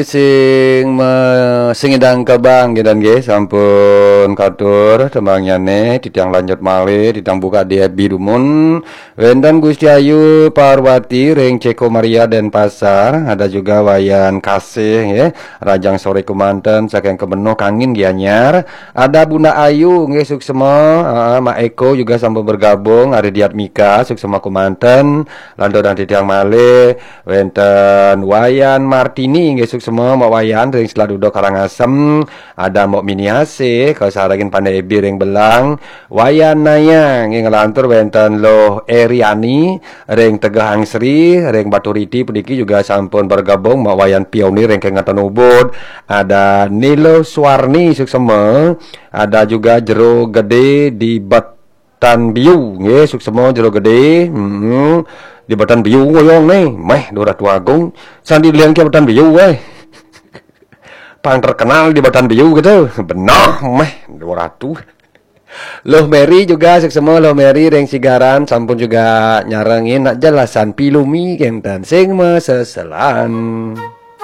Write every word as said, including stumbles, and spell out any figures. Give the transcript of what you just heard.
Sing me, sing idang kebang, nggih, dan nggih, sampun katur tembangnyané, titiang lanjut malih, titiang buka di F B dumun. Wénten Gusti Ayu Parwati ring Ceko Maria Denpasar, ada juga Wayan Kasih, nggih, rahajeng soré kémanten saking Kemenuh Kangin Gianyar, ada Bunda Ayu, nggih, suksma, heeh, Mak Eko juga sampun bergabung, ada Diatmika, suksma kémanten, lanturang titiang malih, wénten Wayan Martini, nggih, suksma Mbok Wayan ring Selat Duduk Karangasem, ada Mbok Miniasih, kasarengin Pandai Ebi ring Belang, Wayan Naya, nggih, nglantur wénten Luh Eriani ring Tegeh Angsri, ring Baturiti puniki juga sampun bergabung Mbok Wayan Pioni ring Kengatan Ubud, ada Nilo Suwarni suksma, ada juga Jero Gedé di Betan Biu, nggih, suksma Jero Gedé. Hmm. Di Betan Biu ngoyong nih, méh Dora Tuagung. Sandi liang ke Betan Biu, eh. Pang terkenal di Betan Biu gitu. Benar, méh Dora tuh. Luh Mary juga suksma, Luh Mary ring Sigaran sampun juga nyarengin nak jelasan pilumi kénten sing maseselan.